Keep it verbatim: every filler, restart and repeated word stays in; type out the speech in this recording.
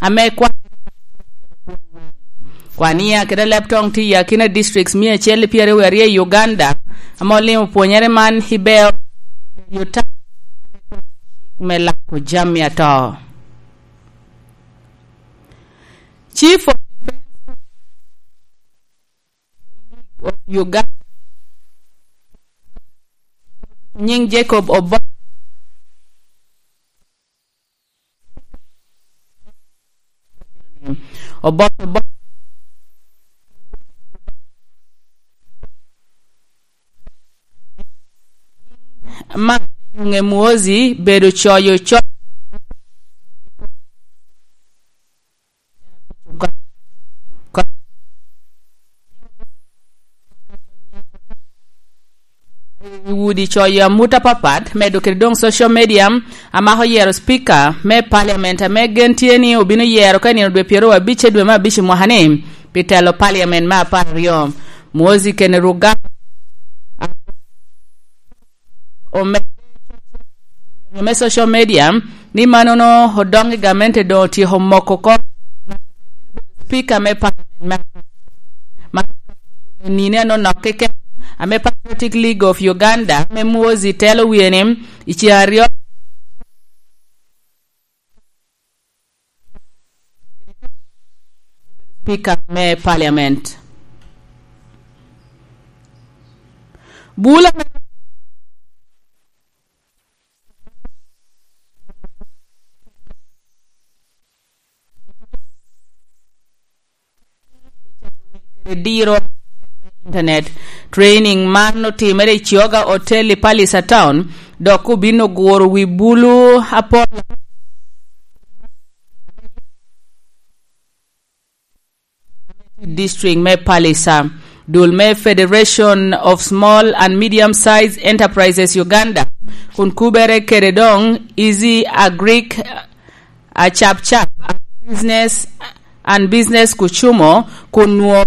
ame kwa-, kwania kede Leptong tye i akina districts mia acel i pyeraryo aryo i Uganda, ame olimo pwonyere man i Beo, Utah, me lako jami ato. Chief of Uganda, nying Jacob Obo-, Obote Obo-, ma Yunge Muozi bedo coyo co-, i udi coyo amut apapat, medo kede doŋ social media, amako yero speaker me parliament ame gen tye ni obino yero ka i nino dwe pyeraryo abic i dwe me abic i mwaka ni, pi telo parliament me apar aryo. Muozi kene Ruga ome-, me social media ni manono odoŋ i gamente doŋ otyeko moko oko speaker me parliament me, ma nino anonok keken, ame Patriotic League of Uganda, ame Muozi telo wie ni, i ceŋ aryo speaker me parliament. Bula me diro internet training man otimere i Chiogga Hotel i Pallisa Town, dok obino guro wi bulu apol district me Pallisa. Dul me Federation of Small and Medium Sized Enterprises Uganda, kun kubere kede doŋ Easy Agric, Acapcap, Business and Business Kucumo, kun nwo